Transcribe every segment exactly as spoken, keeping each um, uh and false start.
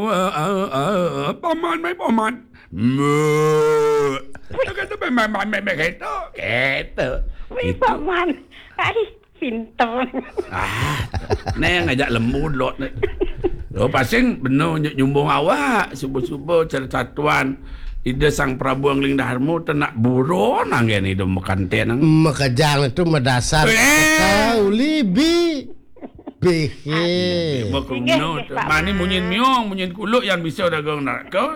Wah, ah, ah, ah, paman, mai paman. Meh. Kata paman, paman, paman, kata, kata. Wih, paman. Ai, pinter. Ah, neng ajak lembu lot ni. Lo pasing beno nyumbung awak, subuh-subuh cerita tuan. Ida Sang Prabu Angling Dharma tu nak buron anggen ida makanten. Makejang tu madasar. Eh. Kau libi. Bihi. Inggih, inggih, Pak Mani Man. Munyin miong, munyin kuluk yang bisa dagang nak kau.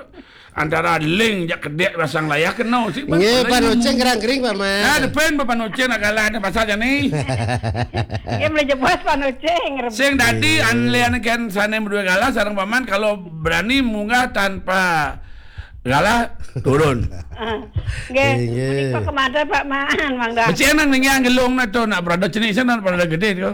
Antara ling jak kedek pasang layah kena si Pak. Nggih, Pak Noceng kerang kering, Pak Man. Nah, depan Pak Noceng nak galah ni pasal jani. Dia boleh jebos Pak Noceng. Sing dadi anlian kan sana berdua galah sareng Pak Man kalau berani munggah tanpa galah turun. Ah, nggih. Nggih. Menika kemada Pak Man, mangga. Becik nang ningiang gelung na tu nak berada cenik sana berada gede tu.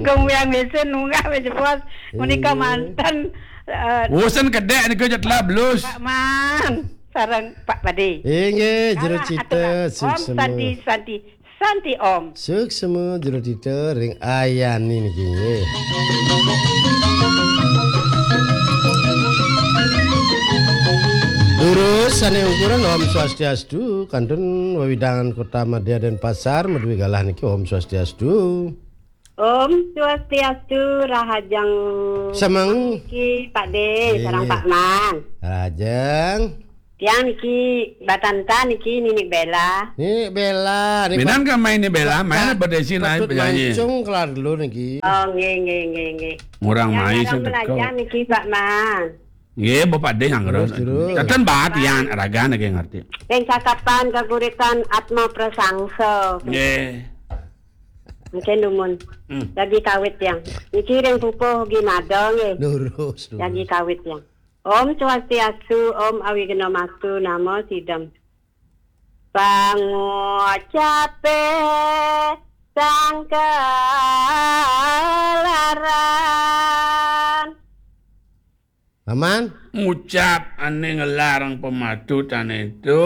Gong wiang mesin munggah wis jebos. Menika mantan, eh, Wosen kedek nika je telah belus. Pak Man sareng Pak Padi. Inggih, jero cita, atur. Om suksema. Santi, Santi, Santi Om. Suksema jero cita ring ayani niki nggih. Durus sane ukuran Om Swastiastu, kantun wewidangan Kota Madya Denpasar, madue galah niki Om Swastiastu. Om Swastiastu, rahajeng. Semeng. Niki Pak De, sareng Pak Man. Rahajeng. Tiang niki batanta niki Ninik Bela. Ninik Bela, niki. Minan kan main ni Bela, main apa desi naik penyanyi. Mancung kelar dulu niki. Oh, nggih, nggih, nggih, nggih. Murang yang mai sing teko. Niki Pak Man. Nggih, Bapak De yang terus. Terus, terus. Teten bat yang raga niki ngerti. Yang cakapan kaguritan Atma Prasangsa. Nggih. Mungkin dumun. Hmm. Lagi kawit yang. Niki ring pupuh gimada nggih. Lurus, lurus. Lagi kawit yang. Om Swastiastu, Om Awighnamastu, Namo Sidam. Pangucape sangkalaran. Aman? Ngucap ane ngelarang pematutane itu.